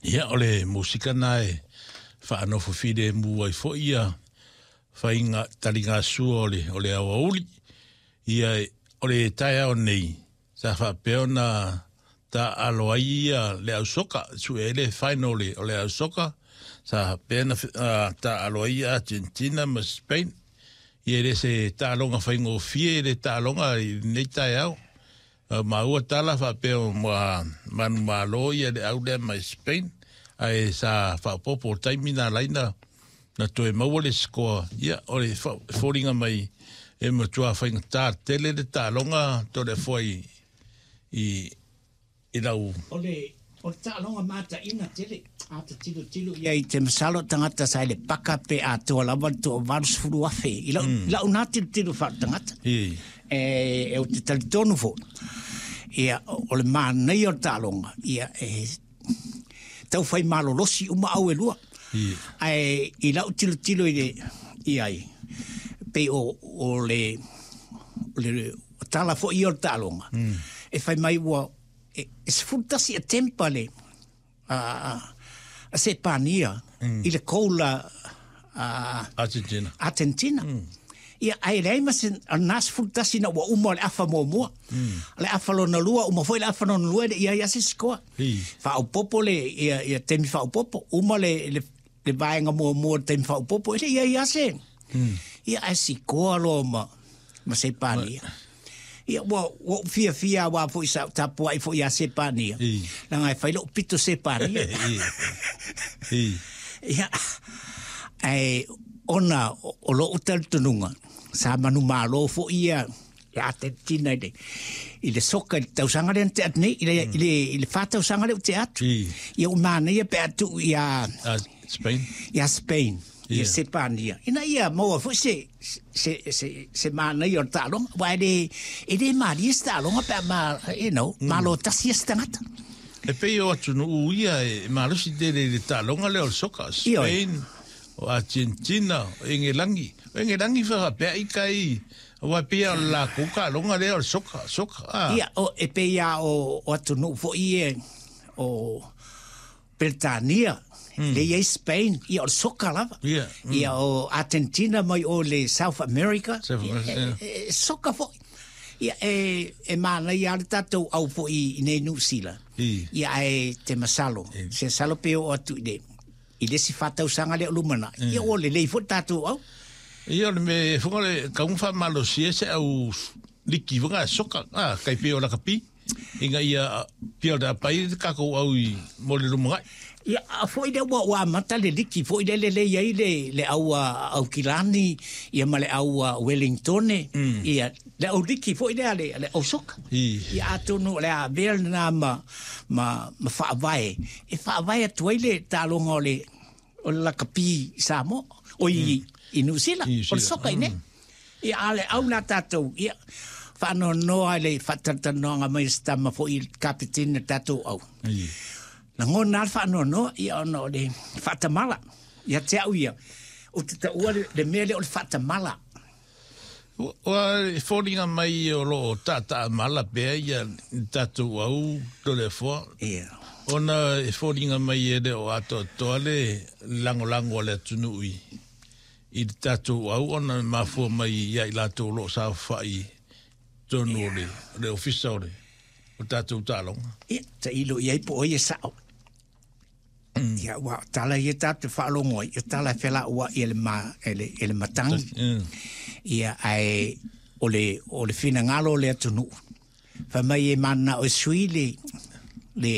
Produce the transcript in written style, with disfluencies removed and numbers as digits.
Ia, o le musika na e faanofo filemu ai foi ia faiga taligasua o le aoauli. Ia, o le taeao nei, sa faapea ona taalo ai ia le au soka, sue ai le final o le au soka, sa faapea na taalo ai Argentina ma Spain. Ia, e le se taaloga faigofie le taaloga i lenei taeao. Maua tala faapea ma manumalo ia le au lea mai Spain, ae sa faaopoopo taimi na laina na toe maua le sikoa. Ia, o le foliga mai e matua faigata tele le taaloga Toleafoa i lau. O le taaloga mataina tele a te tilotilo ia i te masalo tagata sa i le paka pe atoa lava le 80,000 i lau, lau nā tilotilo faaletagata. E o te talitonu foi ia o le manaia o le taaloga ia e tau fai malolosi uma au e lua. Ae i lau tilotilo i le i ai pei o le tala foi ia o le taaloga e fai mai ua e 11 attempt le a Sepania i le goal a Argentina. Argentina. Ia, ae leai ma se na 11 na ua uma o le afa muamua. Le afa lona lua, uma foi le afa lona lua, le ia ia se sikoa. Faaopopo le ia ia taimi faaopopo, uma le vaega muamua o le taimi faaopopo, e le ia ia se. Ia, ae sikoa loa ma Sepania. Ia, ua ou fiafia aua foi sa tapuai foi ia Sepania. Leaga e fai lou pito Sepania. Ia, ae ona o lou talitonuga, sa manumalo foi ia le Argentina i le soka i le tausaga lea na tea atu nei, i le 4 tausaga lea ua tea atu. Ia, ua manaia pe a tuu ia Spain. Ia Spain, ia Sepania. Ina ia maua foi se manaia o le taaloga. Aua e le malie se taaloga pe a ma, malo tasi ia se tagata. E pei o atunuu ia e malosi tele i le taaloga lea o le soka. Spain, o Argentina, o Engelangi. O Engelangi faapea i kai, aua pei o le lakou taaloga lea o le soka, soka. Ah. Ia, o, e pei a o atunuu foi e o Peretania, le i ai Spain, ia o le soka lava. Ia, o Argentina mai o le South America, South America, ia, e soka foi. Ia, e manaia le tatou au foi i nei Niu Sila. Ia, ae te masalo, se salo pe o atu i le isi 4 tausaga lea o lumanai. Ia, ua lelei foi le tatou au. Ia, o le me funga le kaunga faamalosia se au liki funga soka, ah, kai pei o lakapi. Inga ia pia o le apai le kakou au i mo le lumanai. Ia, a foi le ua amata le liki foi le lelei ai le au a Aukilani, ia ma le au a Wellingtone, ia le au liki foi lea le au soka. Ia, atonu o le a avea lena ma faavae. E faavae atu ai le taaloga o le lakapi i Samoa, o i Niu Sila, I Niu o le Sila. soka i nei. Ia, a le au la tatou, ia, faanoanoa i le faatalatalanoaga mai a se tama foi i le kapeteni o tatou au. Lagona le faanoanoa, ia ona o le faatamala. Ia te au ia, ou te taua le mea lea o le faatamala. Ua e foliga mai o loo taataa mala pea ia le tatou au Toleafoa. Ona e foliga mai e le o atoatoa le lagolago a le atunuu i le tatou au ona e mafua mai ia i latou o loo saofai tonu o le ofisa o tatou taaloga. Ia, tailo i ai po o ai e sao. Ia, ua tala ia tatou faalogo ai, o tala e felauai e le, ma, e le matagi. Ia, ae o le finagalo o le atunuu. Fai mai e mananao e sui le